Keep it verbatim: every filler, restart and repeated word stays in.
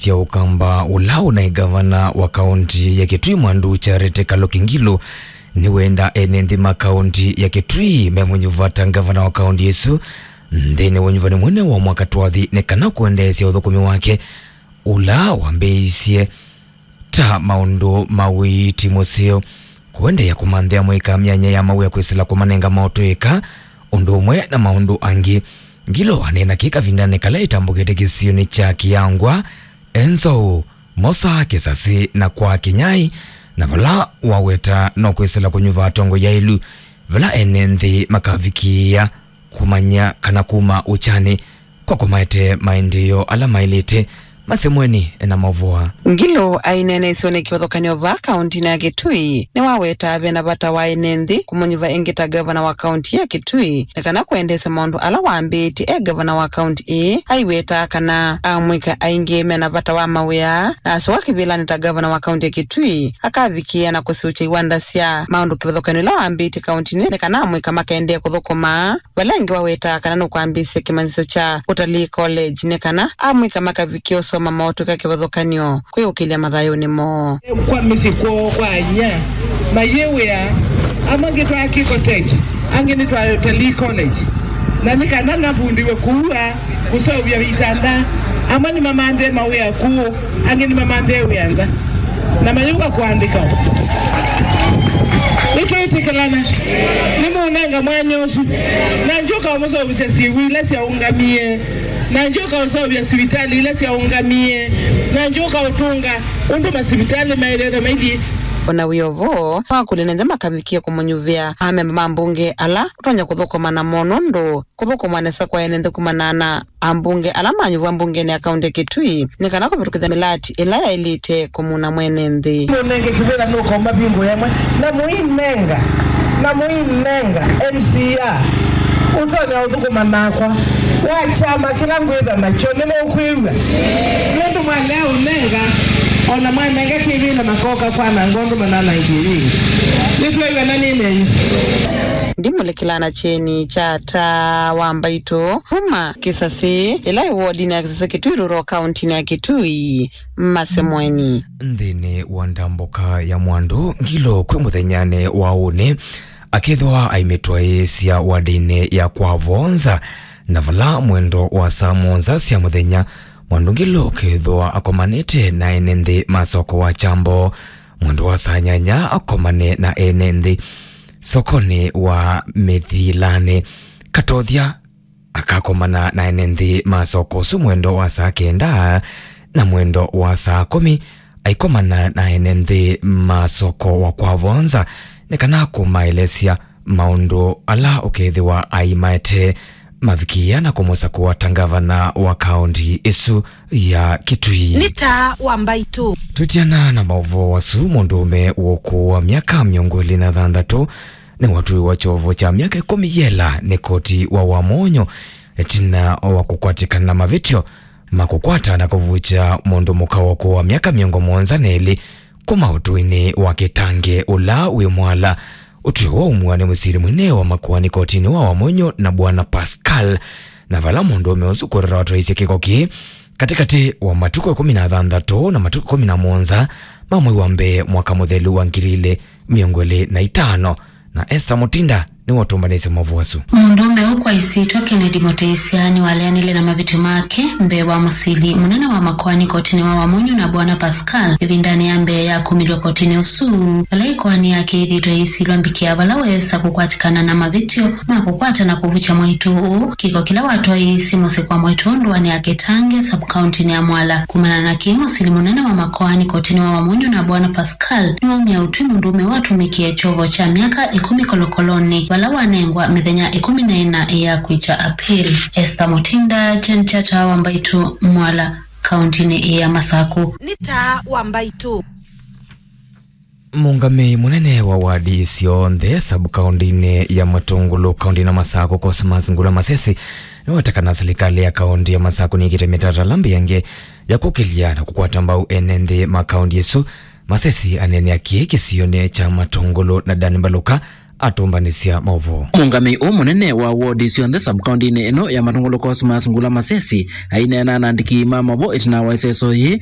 sya Ũkamba ũla ũnaĩ ngavana wa kaũnti ya Kitui Mwandu Charity Kaluki Ngilu nĩwenda ene nthĩ ma kaũnti ya Kitui memũnyuva ta ngavana wa kaũnti ĩsu nthĩnĩ wa ũnyuvani mũnene wa mwaka twathi nĩ kana kũendeesya ũthũkũmi wake ũla wambĩĩisye ta maũndũ ma ũiiti mũseo, kũendeea kũmanthĩa amũika myanya ya mawĩa kwĩsĩla kũmanenga maũtũĩka, ũndũ ũmwe na maũndũ angĩ. Ngilu aneena kĩ kavindanĩ kala ĩtambũkĩte kĩsionĩ kya Kĩangwa, Enzou, Mosa, Kĩsasĩ na kwa Kĩnyai, na vala waweta no kwĩsĩla kũnyuva atongoi aĩlu vala ene nthĩ makavikĩĩa kũmanya kana kuma ũkyanĩ kwa kũmaete maendeeo ala maĩlĩte. Masemweni na Mavoa. Ngilu aineeneisye nĩ kĩvathũkany'o vaa kaũntinĩ ya Kitui nĩwawetaa vena vata wa ene nthĩ kũmũnyuva ĩngĩ ta ngavana wa kaũnti ya Kitui nĩ kana kũendeesya maũndũ ala wambĩĩtye e ngavana wa kaũnti ĩĩ. Aiwetaa kana amũika aingĩ mena vata wa mawĩa na asyoka kĩvĩlanĩ ta ngavana wa kaũnti ya Kitui akavikĩĩa na kũsiũkya iwanda sya maũndũ kĩvathũkany'o ila wambĩĩtye kaũntinĩ nĩ kana amũika makaendee kũthũkũma. Vala ĩngĩ wawetaa kana nũkwambĩĩsya kĩmanyĩsyo kya Utalii College nĩ kana amũika makavikĩa ũsoma maũtũĩka kĩvathũkany'o kwĩũkĩlya mathayũnĩ moo. Kwa mĩsyĩ kwoo kwa anya mayĩwĩa, amwe ngĩtwaa Kiko Tech, angĩ nĩtwaa Utalii College, na nĩ kana navundiwe kuua kũseũvya itanda. Amwe nĩmamanthĩe mawĩa kũũ, angĩ nĩmamanthĩe wĩa nza, na mayũka kũandĩka. Nĩtwĩtĩkĩlana, nĩmũnenga mwanya ũsu, na ndyũka ũmũseũvĩsya syĩw'ũ ila syaũngamie, na ndyũka ũseũvya sivitalĩ ila syaũngamie, na ndyũka ũtũnga ũndũ masivitalĩ maĩlĩtho mailyĩ. O na wĩ o vo, wakũlya nĩ nthĩ makavikĩe kũmũnyuvĩa amemba ma mbunge ala ũtonya kũthũkũma namo nũndũ kũthũkũma nesa kwa ene nthĩ kumana na ambunge ala manyuvwa mbungenĩ ya kaũnti ya Kitui nĩ kana kũvĩtũkĩthya mĩlati ĩla yaĩlĩte kũmuna mwene nthĩ. Mũnenge kĩvĩla nũkomba bingo yamwe na mũinenga, na mũinenga M C A ũtonya ũthũkũma nakwa wa kyama kĩla ngwĩtha nakyo. Nĩmũkwĩw'a? Nũndũ mwalea ũnenga, o na mwanenga kĩvĩla makoka kwananga ũndũ mananangie yĩngĩ. Nĩtwĩw'ana nĩ nenyu. Ndimũlĩkĩla na kyeni kya taa wa mbaitũ kuma Kĩsasĩ, ĩla ĩ wodinĩ ya Kĩsasĩ Kitui Rural, kaũntinĩ ya Kitui. Masemweni. Nthĩnĩ wa ndambũka ya Mwandu Ngilu kwĩ mũthenyanĩ wa ũnĩ, akethĩwa aimĩtwaĩĩsya wadinĩ ya kwa Vonza, na vala mwendo wa saa mũonza sya mũthenya, Mwandu Ngilu ũkethĩwa akomanĩte na ene nthĩ ma soko wa Kyambo. Mwendo wa saa nyanya akomane na ene nthĩ sokonĩ wa Mĩthilanĩ. Katothya akakomana na ene nthĩ ma soko ũsu mwendo wa saa kenda, na mwendo wa saa kũmi aikomana na ene nthĩ ma soko wa kwa Vonza nĩ kana kũmaelesya maũndũ ala ũkethĩwa aimaete mavikĩĩa na kũmũsakũa ta ngavana wa kaũnti ĩsu ya Kitui. Nĩ taa wa mbaitũ. Twĩtiana na maũvoo asu, mũndũũme wa ũkũũ wa myaka mĩongo ĩlĩ na thanthatũ nĩwatũĩwa kyovo kya myaka ĩkũmi yela nĩ koti wa Wamũnyũ ĩtina wa kũkwatĩkana na mavĩtyo ma kũkwata na kũvukya mũndũ mũka wa ũkũũ wa myaka mĩongo mũonza na ĩlĩ kuma ũtũinĩ wa Kĩtange ũla wĩ Mwala. Ũtw'ĩo waumw'a nĩ mũsili mũnene wa makoani kotinĩ wa Wamũnyũ na Bwana Pascal, na vala mũndũũme ũsu kũrora watwaisye kĩko kĩĩ katĩkatĩ wa matukũ ĩkũmi na thanthatũ na matukũ ĩkũmi na mũonza ma mwei wa mbee mwaka mũthelu wa ngili ilĩ mĩongo ĩlĩ na itano. Na Esther Mutinda nĩwe ũtũmbanĩsye maũvoo asu. Mũndũũme ũũ kwa ĩsyĩtwa Kennedy Mũtĩsya nĩwaleanile na mavĩtyo make mbee wa mũsili mũnene wa makoani kotinĩ wa Wamũnyũ na Bwana Pascal ĩvindanĩ ya mbee ya kumĩlw'a kotinĩ ũsu, vala ĩkoani yake ĩthĩĩtwe ĩisilwa mbikĩa vala weesa kũkwatĩkana na mavĩtyo ma kũkwata na kũvukya mwaitũ ũũ, kĩko kĩla watwaĩĩsye mũsyĩ kwa mwaitũ ũũ ndũanĩ ya Kĩtange, sub-county-nĩ ya Mwala. Kumana na kĩĩ, mũsili mũnene wa makoani kotinĩ wa Wamũnyũ na Bwana Pascal nĩwaumya ũtwi mũndũũme watũmĩkie kyovo kya myaka ĩkũmi kolokolonĩ, vala wanengwa mĩthenya ĩkũmi na ĩna ya kwĩkya appeal. Esther Mutinda, Jen Kyata wa Mbaitũ, Mwala, kaũntinĩ ĩĩ ya Masakũ. Nĩ taa wa Mbaitũ. Mũũngamĩi mũnene wa wadi syonthe sub-kaũntinĩ ya Matũngũlũ, kaũntinĩ ya Masakũ, Cosmas Ngula Masesi, nĩweta kana silikalĩ ya kaũnti ya Masakũ nĩkĩte mĩtalatala mbĩange ya kũkĩlya na kũkwata mbau ene nthĩ ma kaũnti ĩsu. Masesi aneenea kĩĩ kĩsionĩ kya Matũngũlũ na Dan Mbaluka atũmbanĩsya maũvoo. Mũũngamĩi ũũ mũnene wa wodi syonthe sub-kaũntĩnĩ ĩno ya Matũngũlũ Cosmas Ngula Masesi aineena na andĩki ma maũvoo ĩtina wa ĩseso yĩĩ